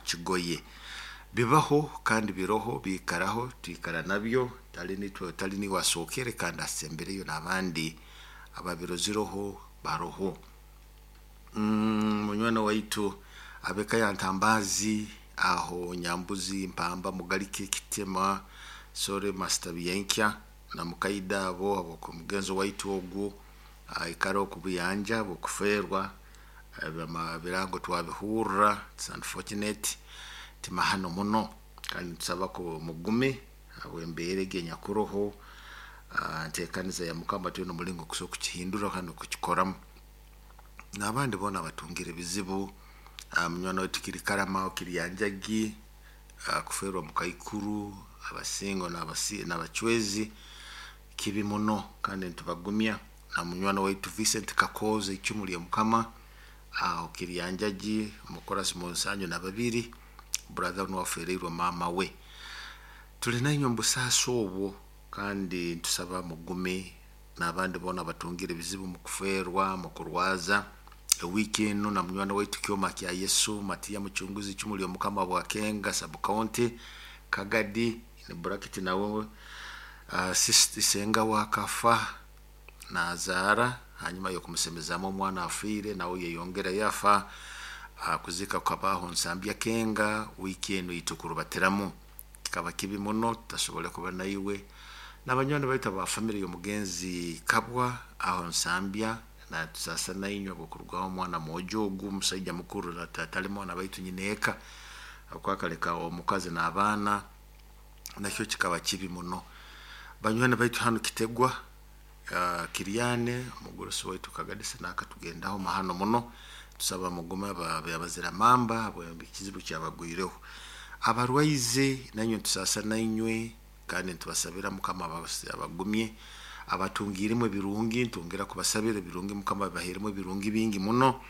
Kigoye. Bibaho kandi biroho, biikaraho, twikara nabyo, tali nitwe, tali niwe asookere kandi asembereyo n'abandi ababiroziroho baroho. Munywani waitu abeka ya Ntambazi aho Nyambuzi Mpamba Mugalike Kitema Sore Master Byenkya na mukaida abo abomugenzo waitu ogu aikara okubuyanja bwokuferwa birango twabihurra. It's unfortunate, timahano muno, kandi tusaba ko mugume habw'embeera egi enyakuroho. Ntekaniza ya Mukama twine omulingo kusobola kukihindura kandi okukikoramu. N'abandi boona batungire ebizibu, munywani waitu kiri Karama Kiryanjagi kuferwa mukaikuru abasingo n'abacwezi kibi muno, kandi nitubagumya. Na munywani waitu Vincent Kakooza icumu lya Mukama aho Kiryanjagi omukorasi munsanju na babiri, brother nuwe afereirwe maama we. Tuli nainywe omu busaasi obwo, kandi ntusaba mugume n'abandi boona batungire ebizibu mu kuferwa, mu kurwaza. Ewiiki enu na munywani waitu Kyoma kya Yesu Matiya Mucunguzi icumu lya Mukama Bwakenga sub county Kagadi ni bracket nawe senga wakafa nazaara hanyuma y'okumusemezaamu omwana afiire, nawe yeyongera yafa. Kuzika kukabaho Nsambya Kenga wiiki enu eitukurubatiramu. Kikaba kibi muno tutasobole kuba naiwe n'abanywani baitu aba family y'omugenzi Kabwa aho Nsambya, natusasa nainywe habw'okurugaho omwana mwojo ogu musaija mukuru atali mwana baitu nyina eka akwakaleka omukazi n'abaana, nakyo kikaba kibi muno. Banywani baitu hanu Kitegwa Kiryane omugurusi waitu Kagadisa nakatugendaho mahano muno, tusaba mugume abazira mamba ekizibu kyabagwireho. Abarwaize nainywe ntusasa nainywe kandi nitubasabira Mukama abagumye, abatungiremu ebirungi ntwongera kubasabira ebirungi, Mukama abaheremu ebirungi bingi muno,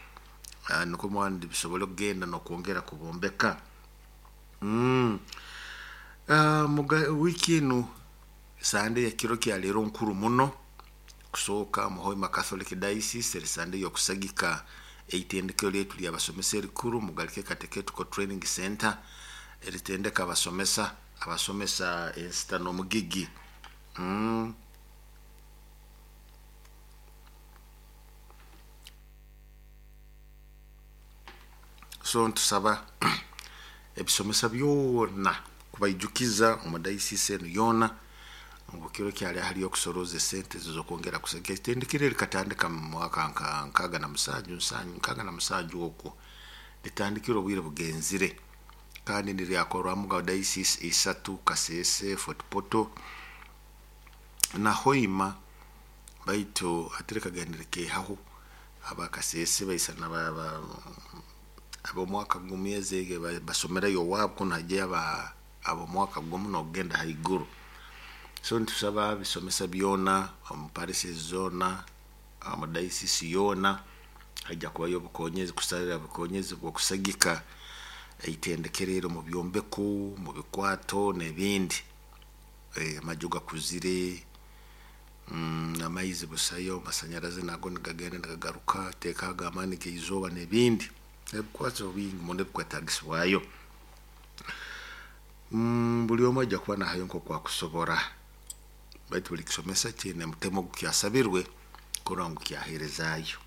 nukwo mwandi bisobole kugenda n'okwongera kubombeka. Wiiki enu Sande ya kiro kya leero nkuru muno kusooka mu Hoima Catholic Diocese eri Sande y'okusagika eitendekero lyaitu ly'abasomesa erikuru Mugalike Catechetical Training Center eritendeka abasomesa abasomesa ensita n'omugigi. So ntusaba ebisomesa byona kubaijukiza omu diocese enu yoona ngu kiro kyali hali okusoroza esente z'okwongera kusagika itendekero likatandika mu mwaka nka 67 nsanju 67 okwo litandikire obwire bugenzire, kandi niryakorwamu ga diocese isatu Kasese, Fort Portal na Hoima, baitu hati likagendere kehaho abakasese baisana ab'omwaka gumu ezi basomerayo owaabo kunu hajyayo ab'omwaka gumu n'okugenda haiguru. So nitusaba bisomesa byona omu parishes zoona omu diocese yoona haija kubayo obukonyezi kusarira obukonyezi bw'okusagika eitendekero eri omu byombeko, mu bikwato n'ebindi. Amaju gakuzire, amaizi busayo, amasanyarazi nago nigagenda nigagaruka, teekaho amaani g'eizooba n'ebindi. Ebikwato bingi muno ebikwetagisibwayo. Buli omu aija kuba nahayo nk'oku akusobora, baitu buli kisomesa kiine omutemo ogukyasabirwe kurora ngu kyaheerezaayo.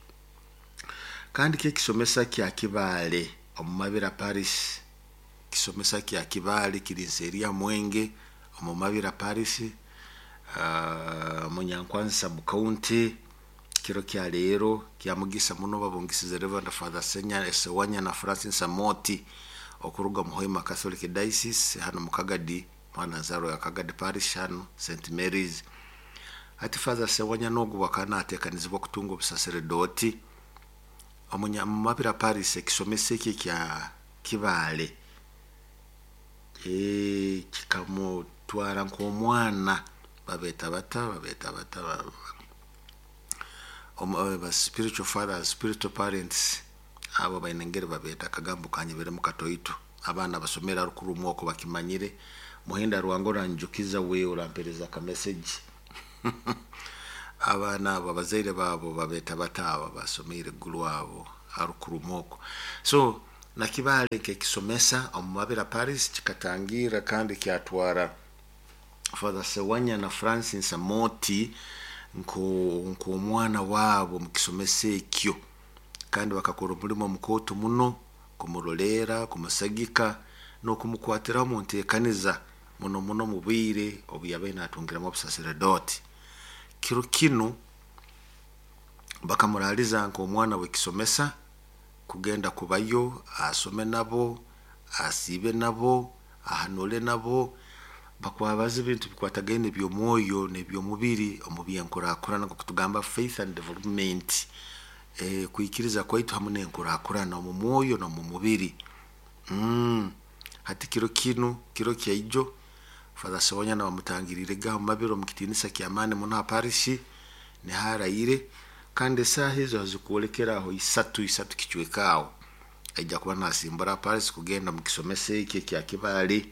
Kandi kyo ekisomesa kya Kibaale omu Mabira Parish, kisomesa kya Kibaale kiri nseeri ya Mwenge omu Mabira Parish, Munyankwanzi sub county. Kiro kya leero kya mugisa muno babungisize Reverend Father Sewanyana Francis Amoti okuruga mu Hoima Catholic Diocese hano mu Kagadi, mwana nzaarwa ya Kagadi Parish hano St Mary's. Hati Father Sewanyana ogu akaba nateekanizibwa kutunga obusaseredooti omu Mabira Parish. Ekisomesa eki ekya Kibaale kikamutwara nk'omwana, babeeta bata babeeta bata ba spiritual fathers, spiritual parents, abo baine engeri babeeta akagambo kanyeberemu katoito. Abaana basomere arukurumu oko bakimanyire. Muhinda Rwango oranjukiza we orampereza aka message. Abaana abo abazaire baabo babeeta bata abo basomeire iguru abo arukurumu oko. So Nakibale nk'ekisomesa omu Mabira Paris kikatangira kandi kyatwara Father Sewanya na Francis Amoti nk'omwana wabo mu kisomesa ekyo, kandi bakakora omulimo mukooto muno kumuroleera, kumusagika n'okumukwatiraho mu nteekaniza muno muno mu bwire obu yabaire naatungiramu obusaseredooti. Kiro kinu bakamuraaliza nk'omwana w'ekisomesa kugenda kubayo asome nabo, asiibe nabo, ahanule nabo, bakwabaza ebintu bikwatagaine eby'omwoyo n'eby'omubiri omu by'enkurakurana nk'oku tugamba faith and development, kwikiriza kwaitu hamu n'enkurakurana omu mwoyo n'omu mubiri. Hati kiro kinu, kiro kyaijo, Father Sewanyana bamutangiriirege aho Mabira omu kitiinisa ky'amaani muno ha parishi niho araire, kandi esaaha ezo hazikwolekera aho isatu, isatu kicweka aho, aija kuba naasimbura Paris kugenda omu kisomesa ekyo ekya Kibaale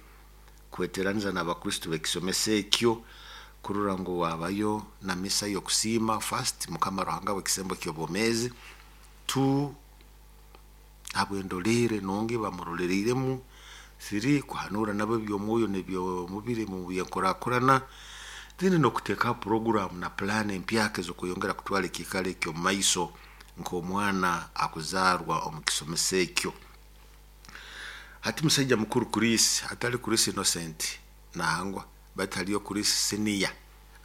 kweteraniza n'abakristo b'ekisomesa ekyo kurora ngu wabayo na misa y'okusiima first Mukama Ruhanga w'ekisembo ky'obwomeezi, two habw'endoleere nungi bamuroleriiremu, three kuhanuura nabo eby'omwoyo n'eby'omubiri mu by'enkurakurana, then n'okuteekaho puroguraamu na pulaani empyaka ez'okweyongera kutwara ekiikaro eky'omu maiso nk'omwana akuzaarwa omu kisomesa ekyo. Hati musaija mukuru Chris, hatali Chris Innocent nangwa, baitu haliyo Chris Senior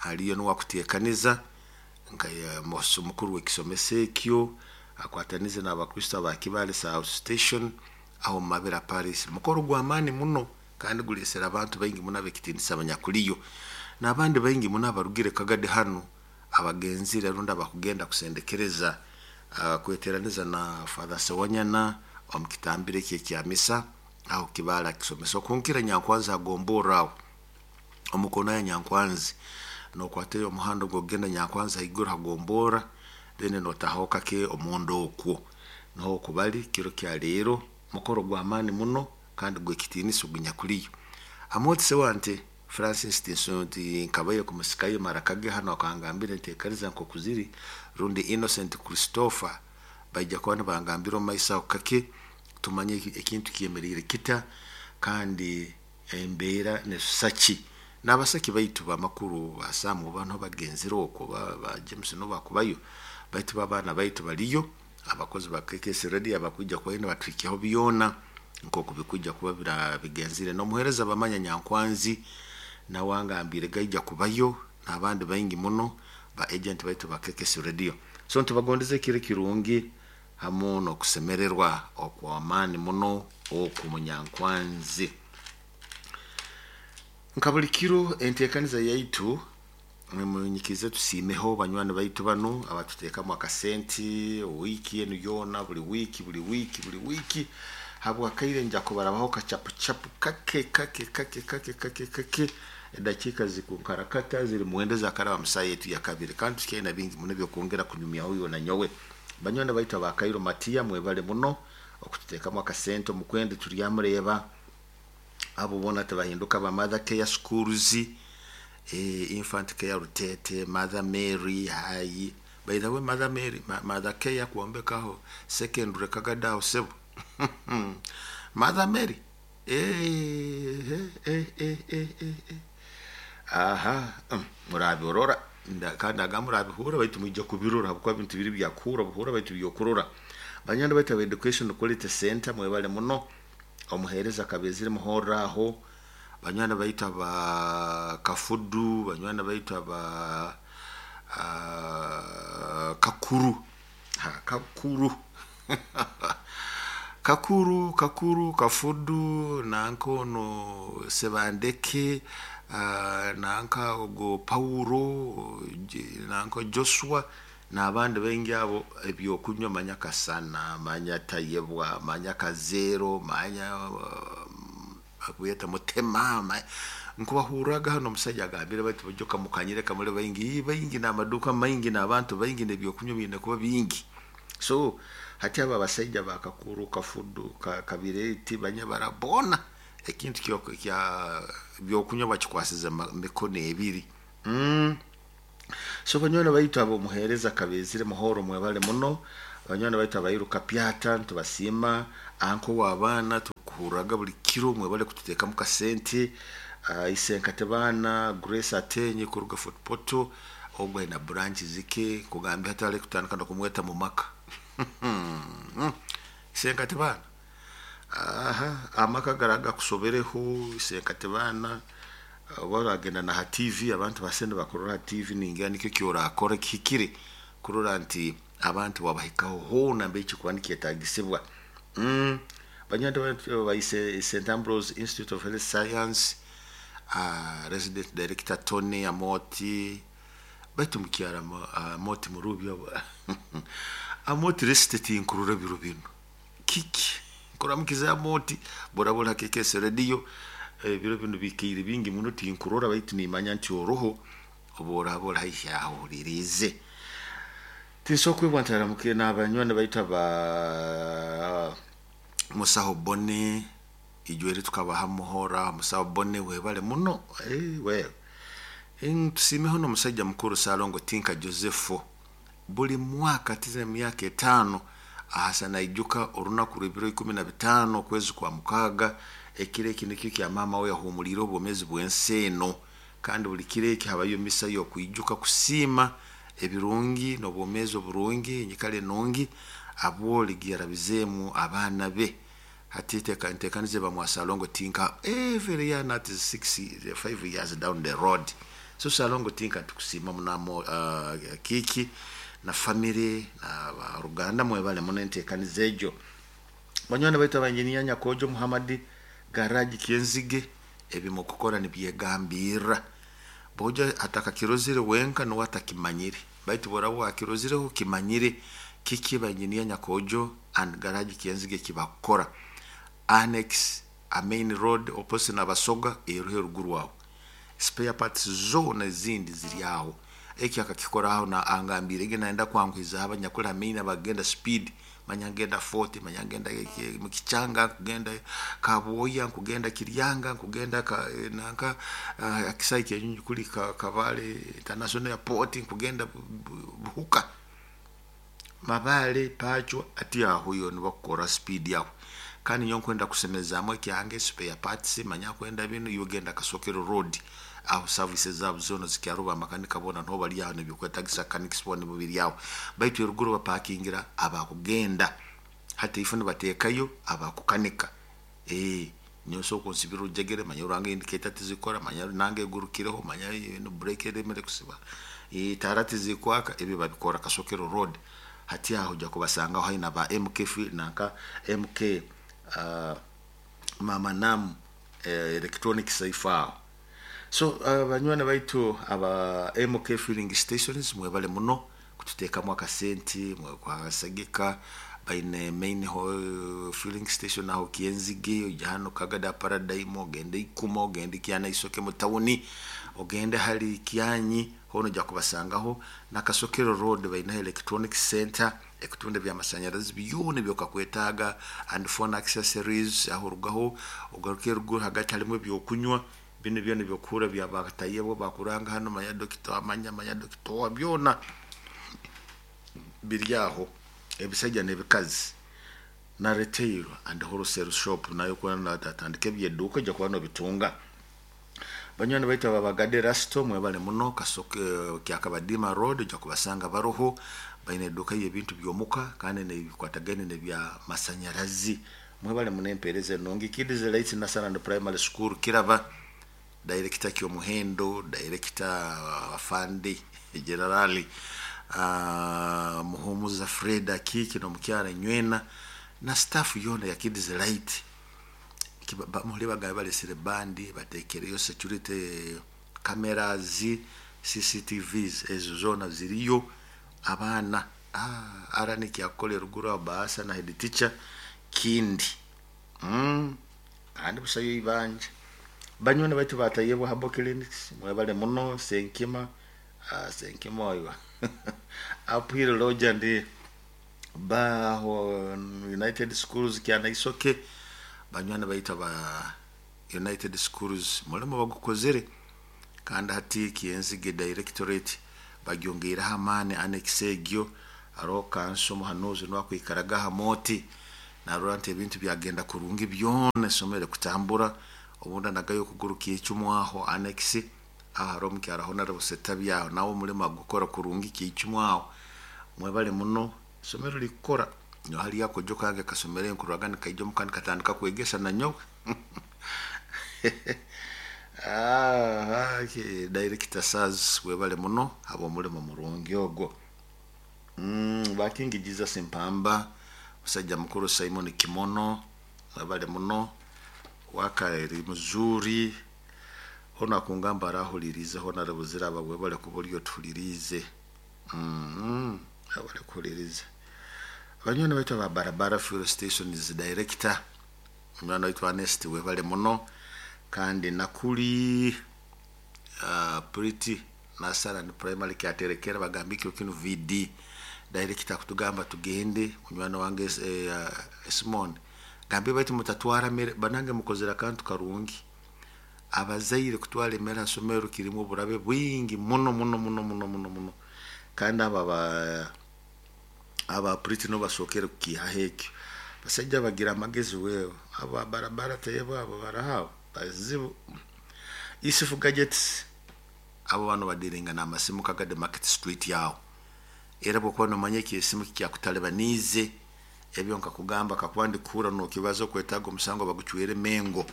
aliyo nuwe akuteekaniza nka mukuru w'ekisomesa ekyo, akwatanize n'abakristo aba Kibaale South Station aho omu Mabira Paris. Mukoro gw'amaani muno kandi guleesere abantu baingi muno ab'ekitiinisa abanyakuliyo, n'abandi baingi muno abarugire Kagadi hanu abagenzire rundi abakugenda kusendekereza kweteraniza na Father Sewanyana omu kitambiro eki ekya misa aho Kibaale akisomesa. Okunkira Nyankwanzi hagomborra aho omu koona ya Nyankwanzi, nookwatayo omuhanda ogw'okugenda Nyankwanzi haiguru hagomborra, then nootahaho kake omunda okwo. Nuho oku bali kiro kya leero, mukoro gw'amaani muno kandi gw'ekitiinisa ogunyakuliyo. Amooti Sewante Francis tinkabaire kumusikayo maraka ge hanu akangambira enteekaniza nk'oku ziri, rundi Innocent Christopher baija kuba nibangambira omu maiso aho kake tumanye ekintu kyemeriire kita kandi embeera nesusa ki. N'abasaki baitu b'amakuru ba Sam oba nuho bagenzire okwo, ba James nubo bakubayo, baitu bo abaana baitu baliyo, abakozi ba KKS Radio abakwija kubayo nibatuhikyaho byona nk'oku bikwija kuba bigenzire. N'omuheereza Bamanya Nyankwanzi nawe angambiire gaija kubayo n'abandi baingi muno ba agent baitu ba KKS Radio. So nitubagondeza ekiro ekirungi hamu n'okusemererwa okw'amaani muno oku Munyankwanzi. Nka buli kiro enteekaniza yaitu munyikize tusiimeho banywani baitu banu abatuteekamu akasenti wiiki enu yoona, buli wiiki, buli wiiki, buli wiiki, habw'akaire nja kubarabaho kachapuchapu kake kake kake kake kake kake edakiika zikunkarakata ziri mwenda ezakaraba mu saaha yaitu yakabiri, kandi tukyaine bingi muno eby'okwongera kunyumyaho iwe na nyowe. Banywani baitu aba Kairo Matiya mwebale muno okututeekamu akasente omukwenda turyamureeba, abo boona tibahinduka ba Mother Care Schools, Infant Care Rutete, Mother Mary High. By the way, Mother Mary, Mother Care kwombekaho secondary Kagadi aho sebo. Mother Mary. Aha, murabirora kandi aga murabihurra baitu mwija kubirora habwokuba ebintu biri byakuhurra buhurra baitu by'okurora. Banywani baitu aba Education Quality Center mwebale muno, omuheereza Kabezire muhorra aho, banywani baitu aba Kafudu, banywani baitu aba Kakuru, Kakuru, Kakuru, Kakuru, Kafudu, nanka ono Sebandeke, nanka ogo Paulo, nanka Joshua, n'abandi baingi abo ebyokunywa manya Kasana, manya Tayebwa, manya Kazeero, manya bakuyeta Mutema, nkubahurraga hanu omusaija agambire baitu bulijjo kamukanyire kamuli baingi, baingi n'amaduuka maingi n'abantu baingi n'ebyokunywa biine kuba bingi. So hati abo abasaija ba Kakuru, Kafudu, Kabireti, Banyabara boona ekintu kya byokunywa bakikwasize mikono ebiri. So banywani baitu ab'omuheereza Kabezire Muhoro mwebale muno, Abanywani baitu abairuka pyata ntubasiima. Anko w'abaana tukuhurraga buli kiro, mwebale kututeekamu kasente. Isenkate baana Grace Atenye kuruga Fort Portal, ogwo aina branch zike kugambia hati ali kutandika n'okumweta mu maka. Isenkate baana, aha amaka garaga kusobereho. Isenkate baana oba oragenda na ha TV, abantu basente bakurora ha TV, ningira nikyo kyorakora kihikire kurora nti abantu babahikaho hoona mbere kikuba nikyetagisibwa. Banywani baitu ba St Ambrose Institute of Health Science, Resident Director Tony Amoti, baitu mukyara Amoti Murubya, Amoti resite tinkurora biro binu kiki nkuramukiza Amoti borabora ha KKS radio. Ebiro binu bikaire bingi muno tinkurora, baitu nimanya nti oroho obu oraba ori haihi aho ohuririize. Tinsobola kwebwa ntaramukire n'abanywani baitu aba Musaho Bone ijweri tukabaha muhora. Musaho Bone webale muno. Well, tusiimeho n'omusajja mukuru Salongo Tinka Joseph. Buli mwaka tize emyaka 5 ahasa naijuka orunaku rw'ebiro 15 okwezi kwa 6, ekiro eki nikyo kya maama we yahumuliire obwomeezi bw'ensi eno. Kandi buli kiro eki habayo misa y'okwijuka kusiima ebirungi n'obwomeezi oburungi, enyikara enungi abwoli yarabizeemu abaana be. Hati ntekanize bamwa Salongo Tinka every year, not 6 5 years down the road. So Salongo Tinka tukusiima munamo, kiki na family na baruganda, mwebale muno entekaniza egyo. Banywani baitu abanjiniya Nyakojo Muhammad garage Kyenzige, ebimukukora nibyegambirra boja atakakirozere wenka nuwe atakimanyire, baitu boraba wakirozireho kimanyire kiki banjiniya Nyakojo and garage Kyenzige kibakukora. Annex a main road opposite n'Abasoga eruho eruguru aho, spare parts zona ezindi ziri aho. Eki akakikoraho na angambire ge naenda kwanguhiza abanyakuli ha main abagenda speed, manya ngenda 40, manya ngenda mukichanga, kugenda Kaboya, kugenda Kiryanga, kugenda nanka akisai kyenyunyu kuli Kabale International Airport, kugenda Buhuka, Mabale, Pacho, ati aho yo nibakukora speed yawe. Kandi nyo nkwenda kusemezaamu ekyange spare parts, manya kwenda binu yogenda Kasokero Road aho services zabo zona zikyaruba, amakanika bona nho bali aho nebyokwetagisa mechanics bona bubiri aho. Baitu eruguru bapakingira abakugenda hati ifo nibateekayo abakukanika. Nyo soko nsibira ojegere, manya uranga indicator tizikora, manya nange egurukireho, manya no brake eremere kusiba, tara tizikwaka, ebyo babikora Kasokero Road. Hati aho ojja kubasangaho haina ba MK nanka MK, Mama Nam electronics aho. So banywani baitu aba MK filling stations, mwebale muno kututeekamu akasente mwekwasagika. Baine main filling station aho Kyenzige, ojja hano Kagada Paradigm, ogende Ikuma, ogende Kyana Isoke mu tawuni, ogende hali Kyanyi, hono ojja kubasangaho. Na Kasokero Road baina electronic center ekutunda byamasanyarazi byona ebyokakwetaaga and phone accessories. Aho orugaho ogaruke ruguru hagati harimu ebyokunywa bino byona ebyokuhura byabatayebo bakuranga hano, manya dokita amanya, manya dokita byona biri aho, ebisajja n'ebikazi. Na retail and wholesale shop nayo kuba natandika ebyeduuka ojja kuba nobitunga. Banywani baitu ababagade Rasto, mwebale muno. Kasoke Kyakabadima Road ojja kubasanga baroho, baine eduuka y'ebintu by'omuka kandi nebikwatagane nebya masanyarazi. Mwebale muno empeereza enungi. Kids Lights Nursery and Primary School Kiraba, director Kyomuhendo, director afande generali Muhumuza Freda Kiki n'omukyala Nywena na staff yona ya Kids Light. Muli bagabe balesere bandi batekereyo security cameras, CCTVs, ezo zona ziriyo. Abaana ara nikyakukola eruguru aho baasa na head teacher kindi, kandi busayo ibanja. Banywani baitu batayebwa Herbal Clinics, mwebale muno. Senkima, Senkima oyo Uphill Lodge and baho United Schools Kyana Isoke. Banywani baitu aba United Schools mulimu bagukozere, kandi hati Kyenzige directorate bagyongeireho amaani annex egyo. Haroho kanso muhanuzi nwakwikaraga ha moti narora nti ebintu byagenda kurungi byona esomero kutambura obundi nagayo okuguru kiicumwaho annex aho hariho omukyara honorable Setabyaho nawe omulimo agukora kurungi kiicumwaho. Mwebale muno isomero likukora nyo haliyo akojo kange kasomere nkurwaga nikaija omuka nikatandika kwegesa nanyowe. Okay. Director Saz webale muno habw'omulimo murungi ogwo. Bakingi Jesus Mpamba, musajja mukuru Simon Kimono, webale muno waka eri muzuri hono akungamba arahulirize honorable Ziraba webale kuba oli otuhulirize. Webale kuhuliriza. Abanywani baitu aba Barabara Fuel Station is director munywani waitu Ernest webale muno kandi nakuli Pretty Nasaran Primary kyaterekera bagamba ekiro kinu VD director kutugamba tugende munywani wange Simon gambe baitu mutatwara mere banange mukozera akantu karungi. Abazaire kutwara emere ha somero kirimu oburabe bwingi muno muno muno muno muno muno kandi aba Pretty no basokere kukihaho ekyo. Basajja bagira amagezi wewe aba barabara tebo abo barahawe bazibu. Isufu Gadgets abo bano badiringa n'amasimu Kagadi Market Street yaho. Era bwokuba nomanya eki esimu kikyakutalibaniize ebyo nkakugamba kakuba ndikuhura nokibaza okwetaaga omusango bagucwere Mengo.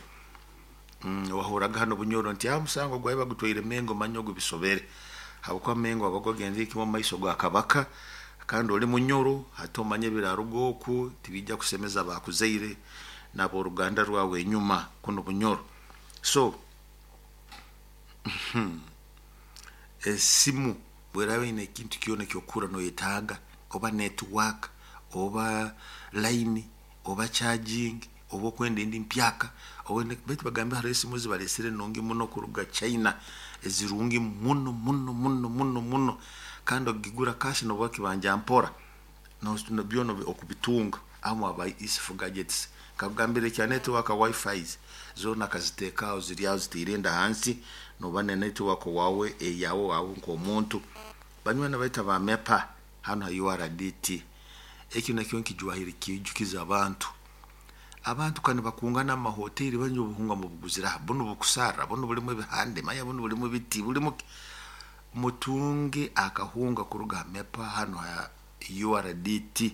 Wahuraga hano Bunyoro nti omusango gwawe bagutwaire Mengo manya ogu bisobere. Habwokuba Mengo aba gwagenze kimwe omu maiso ga Kabaka kandi oli Munyoro hati omanye ebiraruga oku tibijja kusemeza abakuzaire n'aboruganda rwawe enyuma kuno Bunyoro. So esimu bweraba ine ekintu kyona ekyokura noyetaaga oba network oba line oba charging oba okwenda endi mpyaka baitu bagambe hariho esimu zibalesere nungi muno kuruga China ezirungi muno muno muno muno muno kandi ogigura cash noba kibanja mpora no byona okubitunga amu aba Isufu Gadgets kakugambira ekya network wifi zona akaziteekaho ziri aho zitiire enda hansi noba ne network wawe eyawe wawe nk'omuntu. Banywani baitu aba MEPA hano ha URDT ekyo nakyo nkijwahire kijukiza abantu. Abantu kandi bakungana mu mahoteli banywa obuhunga mubuguzira buno bukusarra buno bulimu ebihande manya buno bulimu ebiti bulimu mutunge akahunga kuruga MEPA hano ha URDT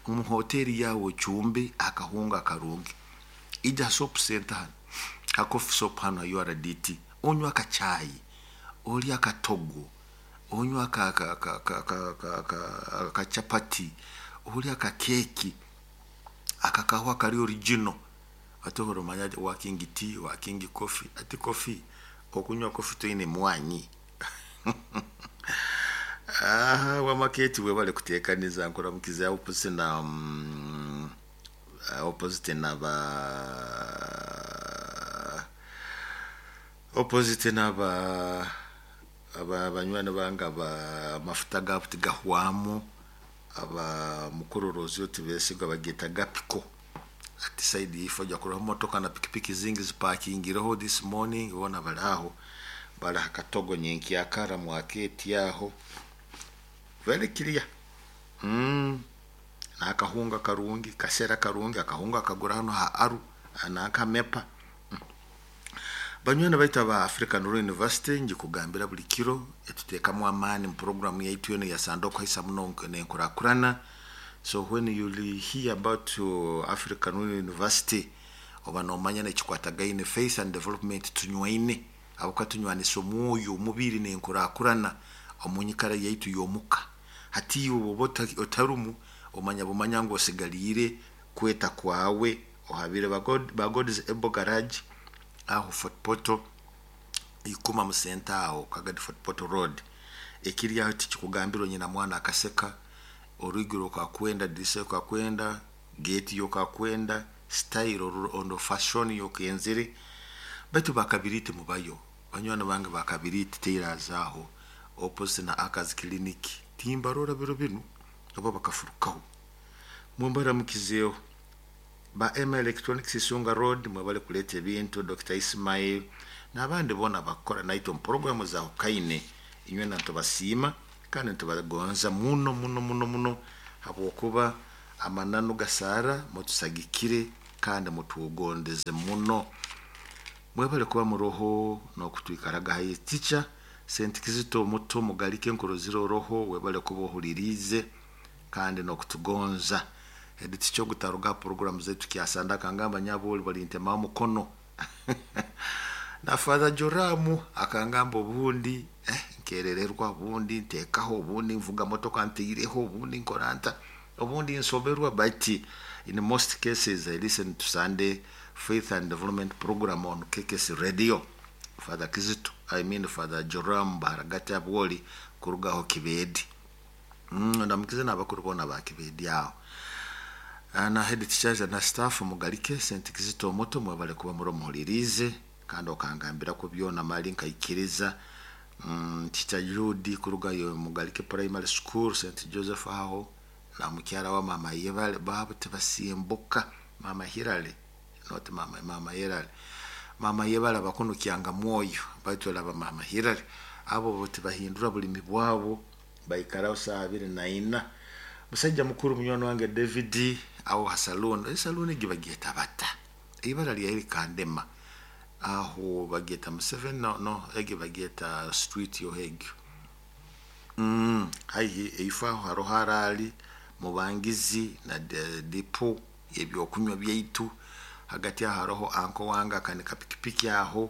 omu hoteli yawe ochumbe akahunga karungi. Ija soap center hano ha coffee shop hano ha URDT onywa akachai olya akatogo onywa akachapati olya akakeki akakahwa kari original atohora omanya working tea working coffee ati coffee okunywa coffee toine mwanyi. Wamaketi webale kutekaniza nkuramukiza opposite na opposite na ba opposite na ba aba banywani bange aba mafuta gaabo tigahwamu aba mukurorozi otibesigwa bageta gapiko ati side ifo ojja kuroho motoka na pikipiki zingi zipakingireho this morning bona bali aho bali hakatogo nyenkyakara mwaketi aho very clear. Nakahunga karungi kasera karungi akahunga kagura hano ha aru nakamepa. Banywani baitu aba African Rural University njikugambira buli kiro etuteekamu amaani mu programu yaitu yono ya Sandoko haisa muno nenkurakurana. So when you hear about African Rural University oba nomanya nekikwatagaine faith and development tunywaine abuka tunywanisa omwoyo omubiri nenkurakurana omunyikara yaitu yomuka. Hati iwe oba otarumu omanya bumanya ngu osigaliire kweta kwawe ohabire ba God's Able Garage aho Fort Portal ikuma musenta aho Kagadi Fort Portal Road ekiri aho tikikugambira nyina mwana akaseka orugiro okakwenda dirisa okakwenda gate yokakwenda style ondo fashion yokenzire baitu bakabiriti mubayo banywani bange bakabiriti teirazaho opposite na Akazi Clinic timbarora biro binu oba bakafurukaho mumbaramukizeho ba M Electronics Isunga Road mwebale kuleta ebintu Dr. Ismail n'abandi bona bakora naitwe mu programu za Hukaine inywe nantubasiima Kandi nitubagonza muno muno muno muno habwokuba amananu gasaara mutusagikire kandi mutugondeze muno. Mwebale kuba muroho n'okutwikaraga haihi. Teacher Senti Kizito muto mugalike nkurozire oroho, webale kuba ohuliriize kandi n'okutugonza. Head teacher ogutaruga ha program zaitu kyasanda akangamba nyabo oli balintemaho mukono. Na Father Joramu akangamba obundi nkerererwa, obundi ntekaho, obundi nvuga motoka nteireho, obundi nkora nta, obundi nsoberwa, but in most cases I listen to Sunday Faith and Development program on KKC Radio. Father Kizito, I mean Father Joram Baharagati Abwoli kuruga aho Kibedi. Ndamukize n'abakuru boona ba Kibedi aho. Na head teachers na staff mugalike St. Kizito omuto mwebale kuba muri omuhuliriize kandi okangambirako byona mali nkaikiriza. Teacher Judy kuruga yo Mugalike Primary School St. Joseph aho na mukyara wa mama Yebale baabo tibasimbuka mama Hilary not mama mama Hilary mama Yebale abakunu kyanga mwoyo baitu olaba mama Hilary abo bo tibahindura bulimi bwabo baikaraho saaha abiri na ina. Musaija mukuru munywani wange David aho ha saloon, esaloon egi bagyeta bata? Ibara lyayo likandema. Aho bagyeta Museveni no no egi bagyeta street yoho egyo. Haihi eifo aho haroho araali Mubangizi na depo y'ebyokunywa byaitu. Hagati aho haroho anko wange akanika pikipiki aho.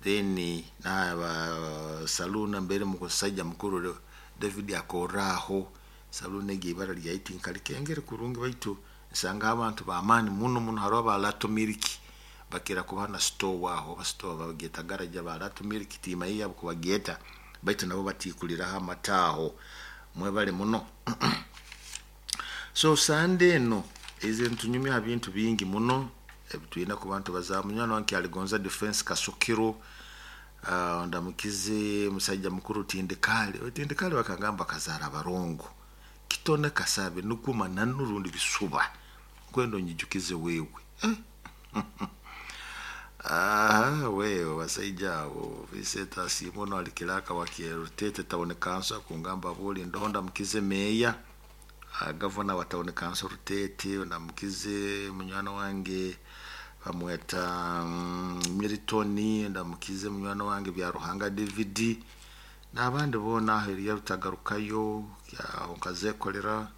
Then naba saloon mbere musaija mukuru David akorra aho. Saloon egi ibara lyayo tinkalikengere kurungi baitu nsanga abantu b'amaani muno muno. Haroho aba Lato Milk bakira kuba na store aho, oba store bagyeta garage aba Lato Milk timanyire yabo kubagyeta baitu nabo batiikuliraho amata aho. Mwebale muno. So Sunday eno eze nitunyumya ha bintu bingi muno ebitwine kuba nitubaza. Munywani wange Kyaligonza Defense Kasukiro, ndamukize musaija mukuru Tindikali. Tindikali bakagamba akazaara abarongo. Kitone kasabe nukwo mananu rundi bisuba. Nkwenda onyijukize wewe. Wewe basaija abo Vincent Asiimwe ali kiraka wa Rutete Town Council kungamba buli ndoho ndamukize meya gavana wa Town Council Rutete, ndamukize munywani wange bamweta Milton, ndamukize munywani wange Byaruhanga David n'abandi boona aho Eliya Rutagarukayo aho nkazekolera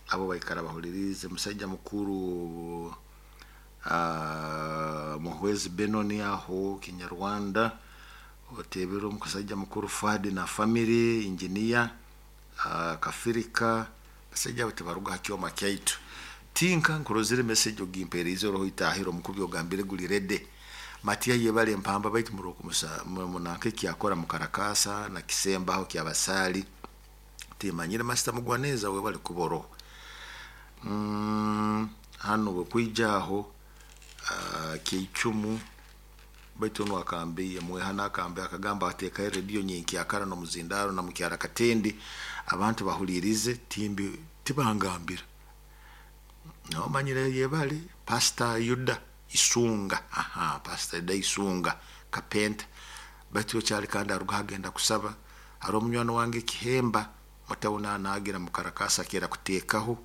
abo baikara bahulirize. Musaija mukuru Muhwezi Benoni aho Kinyarwanda, otebere omusaija mukuru Fuadi na family engineer Kafirika, basaija abo tibaruga ha kyoma kyaitu. Tinka nkurozire message ogimpeerize oroho itahiro omukubi ogambire guli ready. Matia yebale empamba baitu murokumusa munanka ekyakora mukarakasa na kisembaho kyabasaali. Timanyire Master Mugwaneza webale kuboroho. Hano bwe aho keicumu baitu onu akambiye mwehana akambiye akagamba ateekayo rediyo nyenkyakara n'omuzindaro na mukyara Katendi abantu bahulirize timbi tibangambira. Nomanyire yebale Pastor Yuda Isunga, aha Pastor Yuda Isunga kapenta baitu okyali kandi aruga agenda kusaba. Hariho omunywani wange Kihemba mutawuni naagira mukarakasa akira kuteekaho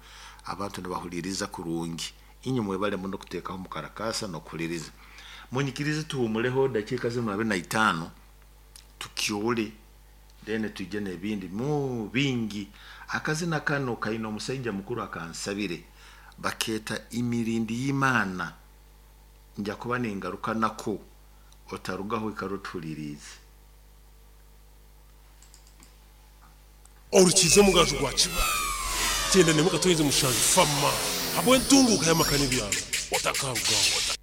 abantu nibahuliriza kurungi. Inywe mwebale muno kuteekaho mukarakasa n'okuhuliriza. Munyikirize tuhumuleho dakiika zinu 25 tukyole then tuje n'ebindi mu bingi. Akazina kano kaine omusaija mukuru akansabire bakeeta imirindi y'Imana. Nja kuba ningaruka nako otarugaho ikara otuhuliriize. Orukiza omugaju gwa Kibaale, kyenda n'emwe akatonyeza mushanju fama habw'entunguuka y'amaka n'ebyaro otakarugaho.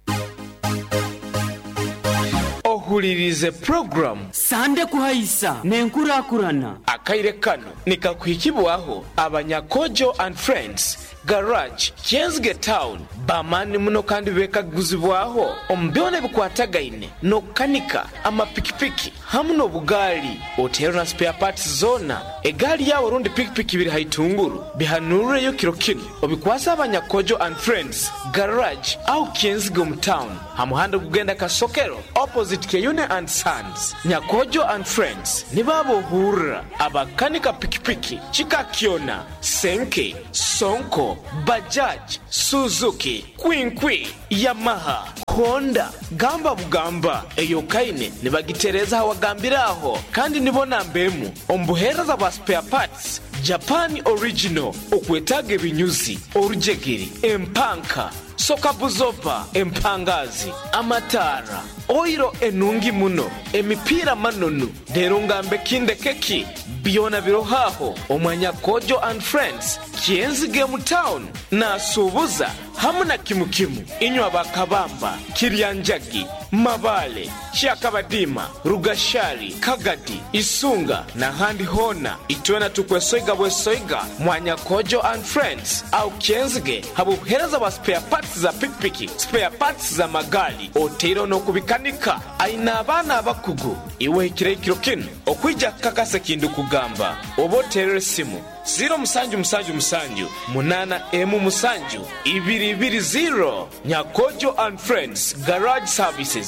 Ohuririze puroguramu. Sande kuhaisa n'enkurakurana. Akaire kano nikakuhikibwaho abanya Kojo and Friends Garage, Kyenzige Town, b'amaani muno kandi beekaguzibwaho omu byona ebikwatagaine n'okukanika amapikipiki. Hamu n'obugaali oteerwe na spare parts zoona. Egaali yaawe rundi pikipiki biri ha itunguru, bihanuureyo kiro kinu obikwase Abanyakojo and Friends Garage aho Kyenzige omu town ha muhanda ogugenda Kasokero opposite Kyeyune and Sons. Nyakojo and Friends nibo abohurra abakanika pikipiki kika kyona, Senke, Sonko, Bajaj, Suzuki, Kwinkwi, Yamaha, Honda, gamba bugamba eyokaine nibagitereeza hawagambire aho kandi nibo namba emu omu buheereza bwa spare parts Japan original okwetaaga ebinyuzi, orujegere, empanka, sokabuzoba, empangazi, amataara, oiro enungi muno, emipiira manonu, reero ngambe kindeke ki? Byona biroho aho omwa Nyakojo and Friends, Kyenzige mu town, nasuubuza hamu na kimu kimu. Inywe aba Kabamba, Kiryanjagi, Mabale, Kyakabadiima, Rugashari, Kagadi, Isunga n'ahandi hoona, itwena tukwesoiga bwesoiga mwa Nyakojo and Friends aho Kyenzige habw'obuheereza bwa spare parts za pikipiki, spare parts za magaali otaireho n'okubikanika. Aine abaana abakugu. Iwe ohikireho ekiro kinu okwija kukakasa eki ndikugamba oba oteerere esimu ziiro musanju musanju musanju munaana emu musanju ibiri ibiri ziiro. Nyakojo and Friends Garage Services.